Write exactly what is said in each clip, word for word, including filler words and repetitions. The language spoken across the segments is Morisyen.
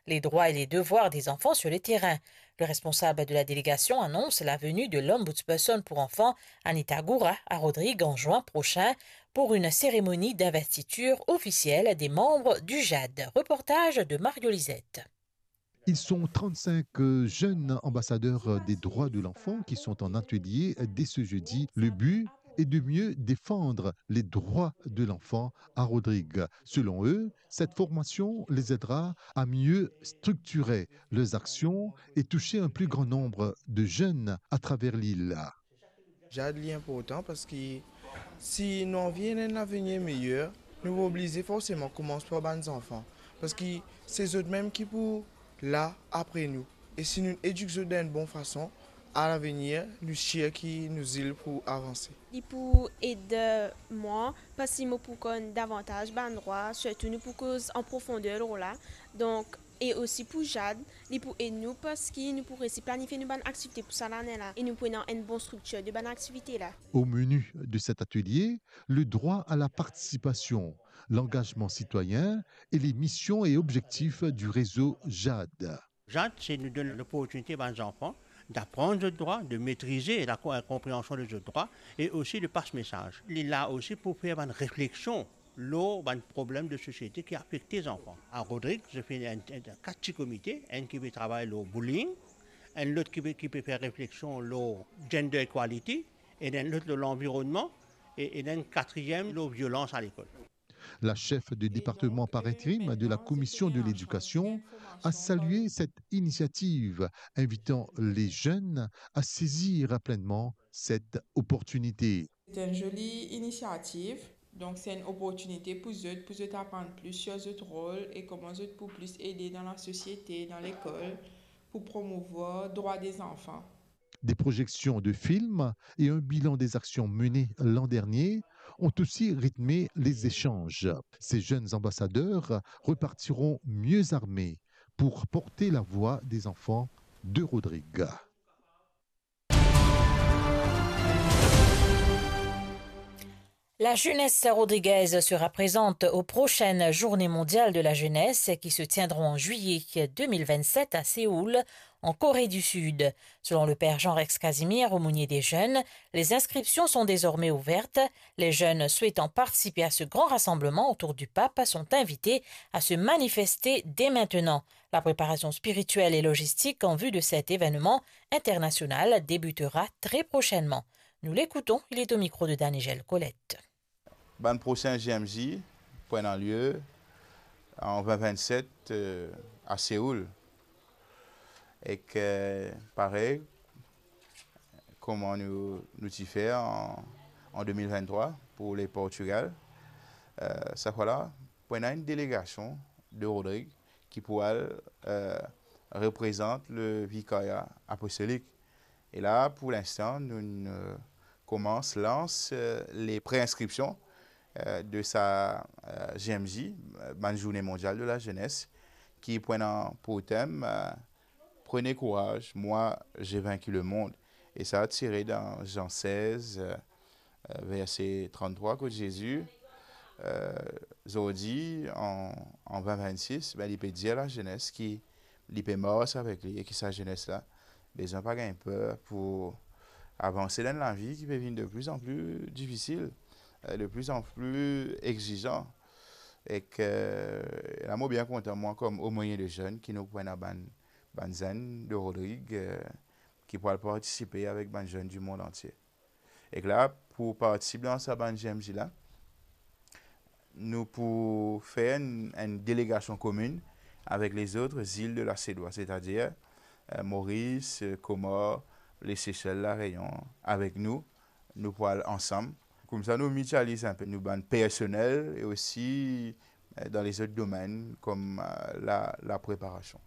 les droits et les devoirs des enfants sur le terrain. Le responsable de la délégation annonce la venue de l'ombudsperson pour enfants, Anita Goura, à Rodrigues en juin prochain pour une cérémonie d'investiture officielle des membres du jade. Reportage de Mario Lisette. Ils sont trente-cinq jeunes ambassadeurs des droits de l'enfant qui sont en atelier dès ce jeudi. Le but est de mieux défendre les droits de l'enfant à Rodrigues. Selon eux, cette formation les aidera à mieux structurer leurs actions et toucher un plus grand nombre de jeunes à travers l'île. Jade li inportan parski si nou anvi ena enn lavenir meyer, nou pou oblize forseman koumans par bann zanfan. Parski se zot mem ki pou la apre nou. E si nou edik zot dan enn bon fason, a lavenir, nou sir ki nou zil pou avanse. Li pou ed mwa, parski mo pou konn davantaz bann drwa, sirtou nou pou koz an profonder lor la. Donk, e osi pou Jade, li pou ed nou parski nou pou resi planifie nou bann aktivite pou sa lane la e nou pou ena enn bon striktir de bann aktivite la. Au menu de cet atelier, le droit à la participation, l'engagement citoyen et les missions et objectifs du réseau Jade. Jade, se nou donn loportinite bann zanfan d'aprann zot drwa, de metrize la ko-, konpreansion de zot drwa e osi de pas mesaz. Li la osi pou fer bann refleksion lor bann problem de sosiete ki afekte zanfan. A Rodrigues, zot finn ena enn, enn, kat ti komite, enn ki pe travay lor bullying, enn lot ki pe, ki pe fer refleksion lor gender equality, e enn lot lor lanvironnman, e, e enn katriem lor violans a lekol. La chef de département par intérim de la commission de l'éducation a salué cette initiative, invitant les jeunes à saisir pleinement cette opportunité. Se enn zoli inisiativ, donk se enn oportinite pou zot, pou zot aprann plis sur zot rol e kouma zot pou plis ede dan lasosiete, dan lekol, pou promouvwar drwa de zanfan. Des projections de films et un bilan des actions menées l'an dernier ont aussi rythmé les échanges. Ces jeunes ambassadeurs repartiront mieux armés pour porter la voix des enfants de Rodrigues. La jeunesse rodriguaise sera présente aux prochaines Journées mondiales de la jeunesse qui se tiendront en juillet deux mille vingt-sept à Séoul, en Corée du Sud. Selon le père Jean-Rex Casimir, aumônier des jeunes, les inscriptions sont désormais ouvertes. Les jeunes souhaitant participer à ce grand rassemblement autour du pape sont invités à se manifester dès maintenant. La préparation spirituelle et logistique en vue de cet événement international débutera très prochainement. Nous l'écoutons, il est au micro de Danigel Colette. Bann prosin J M J pou ena lie an vin vinn-set, euh, a Seoul. Ek, euh, parey, kouma nou, nou ti fer an, an de mil vinn-trwa pou le Portugal, euh, sa fwa la, pou ena enn delegasion de Rodrigues ki pou al, euh, reprezant le vikarya apostolik. E la, pou linstan, nou, nou koumans lans, euh, le pre-inskripsion, euh, de sa, euh, J M J, euh, bann Zourne Mondial de la Zenes, ki pou ena pou tem, euh, Prenez courage, moi j'ai vaincu le monde. E sa tire dan Zan sez, euh, euh, verse tranntrwa, kot Zezi, euh, zordi, an, an vin vinn-sis, be, li pe dir lazenes ki li pe mars avek li e ki sa zenes la bezwin pa gagn per pou avanse dan enn lavi ki pe vinn de plus en plus difisil, euh, de plus en plus exizan. Ek, euh, la mo bien kontan, mwa, kom omonie de zenn, ki nou pou ena bann, bann zenn de Rodrigues, euh, ki pou al partisipe avek bann zenn di mond antie. Ek la, pou partisip dan sa bann J M J la, nou pou fer enn, enn delegasion kominn avek lezot zil de la Sedwa, setadir, euh, Moris, euh, Komor, Lesesel, Lareyon, avek nou, nou pou al ansam. Koumsa nou mitializ enpe nou bann personel e osi, euh, dan lezot domenn kom, euh, la, la preparasion.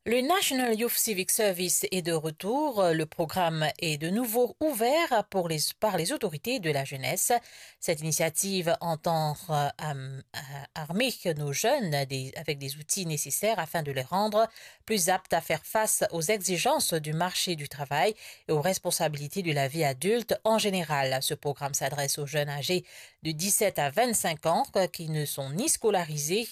Le National Youth Civic Service est de retour. Le programme est de nouveau ouvert pour les, par les autorités de la jeunesse. Cette initiative entend euh, am- euh, armer nos jeunes des- avec des outils nécessaires afin de les rendre plus aptes à faire face aux exigences du marché du travail et aux responsabilités de la vie adulte en général. Ce programme s'adresse aux jeunes âgés de dix-sept à vingt-cinq ans, euh, qui ne sont ni scolarisés